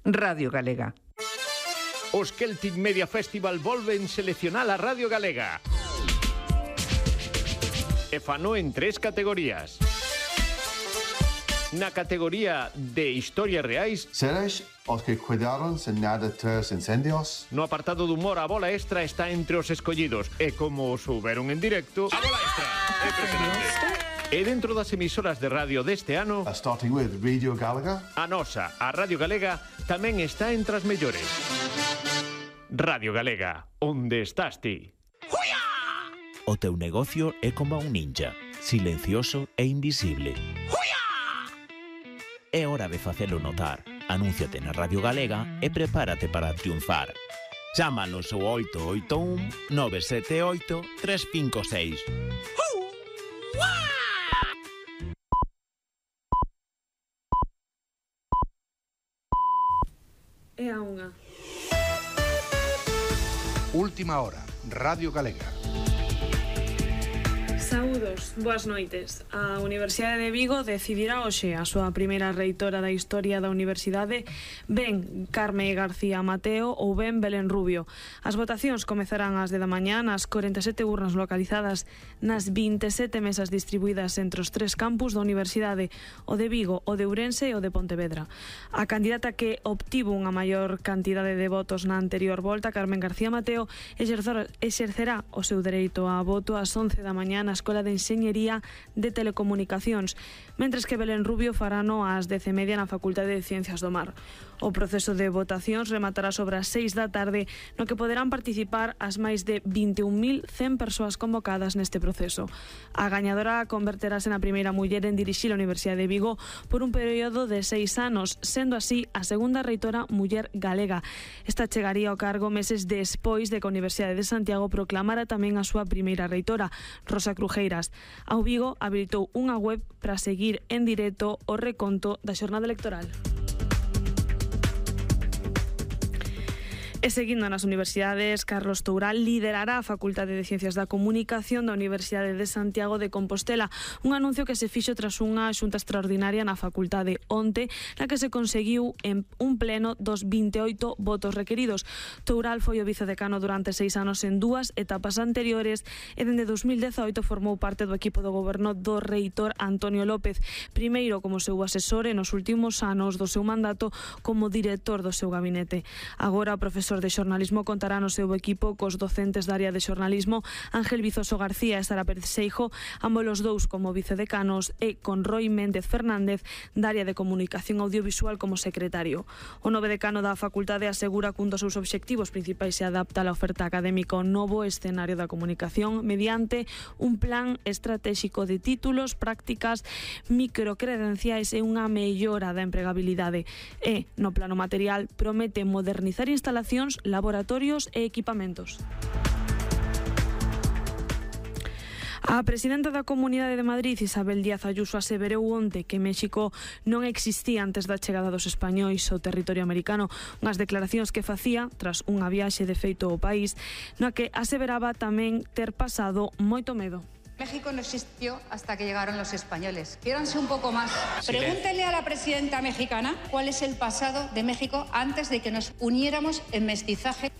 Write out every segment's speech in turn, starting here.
Radio Galega. Os Celtic Media Festival volven seleccionar a Radio Galega. E fano en 3 categorías. Na categoría de historias reais, seres os que cuidaron sen nada tras incendios. No apartado do humor, a bola extra está entre os escollidos. E como souberon en directo, a bola extra é impresionante. E dentro das emisoras de radio deste ano, starting with Radio Galega, a nosa, a Radio Galega, tamén está entre as mellores. Radio Galega, onde estás ti? O teu negocio é como un ninja, silencioso e invisible. É hora de facelo notar. Anúnciate na Radio Galega e prepárate para triunfar. Chámanos ao 881 978 356. É a unha. Última hora, Radio Galega. Saúdos, boas noites. A Universidade de Vigo decidirá hoxe a súa primeira reitora da historia da universidade, ben Carme García Mateo ou ben Belén Rubio. As votacións comezarán ás 10 da mañá nas 47 urnas localizadas nas 27 mesas distribuídas entre os 3 campus da universidade, o de Vigo, o de Ourense e o de Pontevedra. A candidata que obtivo unha maior cantidade de votos na anterior volta, Carmen García Mateo, exercerá o seu dereito a voto ás 11 da mañá na Escola de Enxeñería de Telecomunicacións, mentres que Belén Rubio farano ás 10:30 na Facultade de Ciencias do Mar. O proceso de votacións rematará sobre as 6 da tarde, no que poderán participar as máis de 21.100 persoas convocadas neste proceso. A gañadora converterase na primeira muller en dirixir a Universidade de Vigo por un período de 6 anos, sendo así a segunda reitora muller galega. Esta chegaría ao cargo meses despois de que a Universidade de Santiago proclamara tamén a súa primeira reitora, Rosa Crujeiras. Ao Vigo habilitou unha web para seguir en directo o reconto da xornada electoral. E seguindo nas universidades, Carlos Toural liderará a Facultade de Ciencias da Comunicación da Universidade de Santiago de Compostela, un anuncio que se fixo tras unha xunta extraordinaria na facultade onte, na que se conseguiu en un pleno dos 28 votos requeridos. Toural foi o vicedecano durante 6 anos en 2 etapas anteriores e dende 2018 formou parte do equipo do goberno do reitor Antonio López, primeiro como seu asesor e nos últimos anos do seu mandato como director do seu gabinete. Agora o profesor de xornalismo contará no seu equipo cos docentes da área de xornalismo Ángel Vizoso García e Sara Pérez Seijo, ambos os dous como vicedecanos, e con Roy Méndez Fernández da área de comunicación audiovisual como secretario. O novo decano da facultade asegura que un dos seus obxectivos principais se adapta á oferta académica ao novo escenario da comunicación mediante un plan estratégico de títulos, prácticas, microcredenciais e unha mellora da empregabilidade. E, no plano material, promete modernizar instalacións, laboratorios e equipamentos. A presidenta da Comunidade de Madrid, Isabel Díaz Ayuso, aseverou onte que México non existía antes da chegada dos españois ao territorio americano, unhas declaracións que facía tras unha viaxe de feito ao país, na que aseveraba tamén ter pasado moito medo. México no existió hasta que llegaron los españoles. Quiéranse un poco más. Pregúntenle a la presidenta mexicana cuál es el pasado de México antes de que nos uniéramos en mestizaje.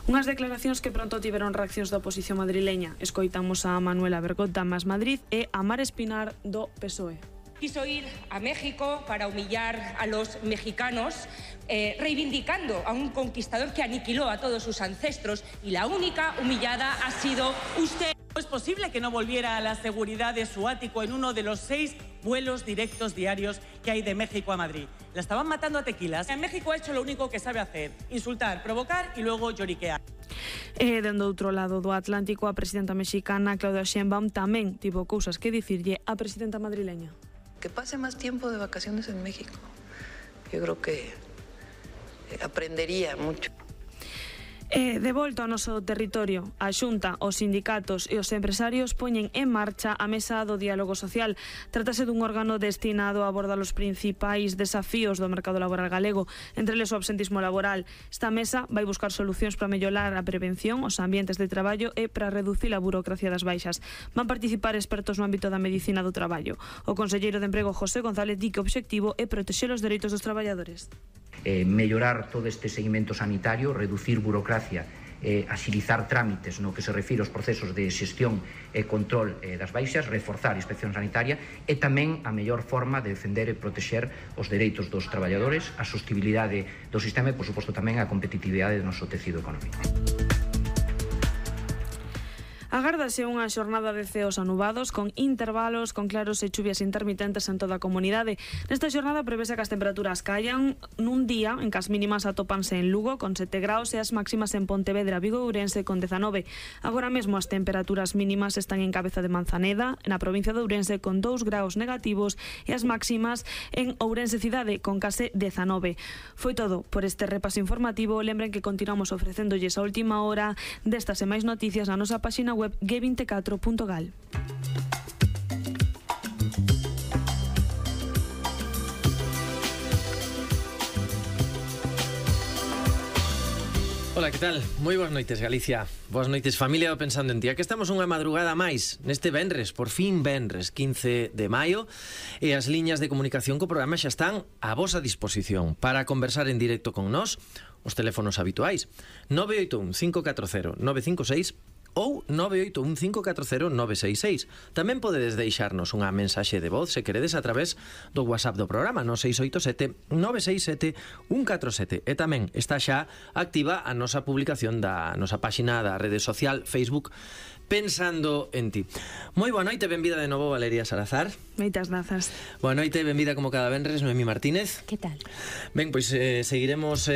Unhas declaracións que pronto tiveron reaccións da oposición madrileña. Escoitamos a Manuela Bergot da Más Madrid e a Mar Espinar do PSOE. Quiso ir a México para humillar a los mexicanos, reivindicando a un conquistador que aniquiló a todos sus ancestros, y la única humillada ha sido usted. Es posible que no volviera a la seguridad de su ático en uno de los 6 vuelos directos diarios que hay de México a Madrid. La estaban matando a tequilas. En México ha hecho lo único que sabe hacer: insultar, provocar y luego lloriquear. E dende outro lado do Atlántico, a presidenta mexicana Claudia Sheinbaum tamén tivo cousas que dicirlle á presidenta madrileña. Que pase más tiempo de vacaciones en México. Yo creo que aprendería mucho. De volta ao noso territorio, a Xunta, os sindicatos e os empresarios poñen en marcha a Mesa do Diálogo Social. Trátase dun órgano destinado a abordar os principais desafíos do mercado laboral galego, entre eles o absentismo laboral. Esta mesa vai buscar solucións para mellorar a prevención, os ambientes de traballo e para reducir a burocracia das baixas. Van participar expertos no ámbito da medicina do traballo. O conselleiro de Emprego, José González, di que o obxectivo é protexer os dereitos dos traballadores. Mellorar todo este seguimento sanitario, reducir burocracia, axilizar trámites no que se refire aos procesos de xestión e control das baixas, reforzar a inspección sanitaria e tamén a mellor forma de defender e protexer os dereitos dos traballadores, a sostibilidade do sistema e, por suposto, tamén a competitividade do noso tecido económico. Agárdase unha xornada de ceos anubados con intervalos, con claros e chuvias intermitentes en toda a comunidade. Nesta xornada prevese que as temperaturas caian nun día en que as mínimas atópanse en Lugo con 7 graus e as máximas en Pontevedra, Vigo e Ourense con 19. Agora mesmo as temperaturas mínimas están en Cabeza de Manzaneda, na provincia de Ourense con 2 graus negativos e as máximas en Ourense cidade con case 19. Foi todo por este repaso informativo. Lembren que continuamos ofrecéndolles a última hora destas e máis noticias na nosa páxina web g24.gal. Ola, que tal? Moi boas noites, Galicia. Boas noites, familia do Pensando en Ti. Aquí estamos unha madrugada máis neste venres, por fin venres, 15 de maio, e as liñas de comunicación co programa xa están a vosa disposición para conversar en directo con nós. Os teléfonos habituais 981 540 956 ou 981-540-966. Tamén podedes deixarnos unha mensaxe de voz se queredes a través do WhatsApp do programa no 687-967-147. E tamén está xa activa a nosa publicación da nosa páxina da rede social Facebook Pensando en Ti. Moi boa noite, benvida de novo Valeria Salazar. Moitas grazas. Boa noite, benvida como cada venres Noemí Martínez. Que tal? Ben, pois seguiremos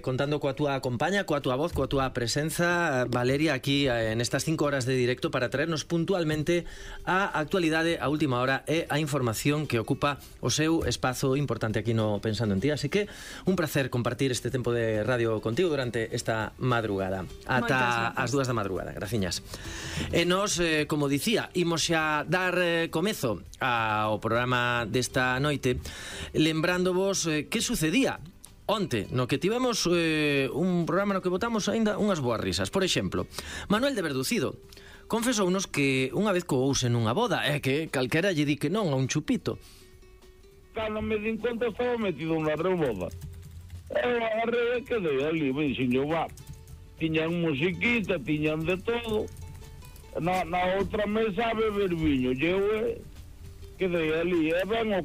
contando coa túa compaña, coa túa voz, coa túa presenza, Valeria, aquí nestas 5 horas de directo para traernos puntualmente a actualidade, a última hora e a información que ocupa o seu espazo importante aquí no Pensando en Ti. Así que un placer compartir este tempo de radio contigo durante esta madrugada. Ata as 2 da madrugada, graciñas. E nos, como dicía, imos xa dar comezo ao programa desta noite lembrándovos que sucedía onte, no que tivemos un programa no que botamos aínda unhas boas risas. Por exemplo, Manuel de Verducido confesounos que unha vez coouse nunha boda e que calquera lle di que non a un chupito. Cando me din conta estaba metido unha reboda. Eu agarrei e quedei ali, me dixen yo, va, tiñan musiquita, tiñan de todo. Na outra mesa a beber viño, eu quedei ali, e ben o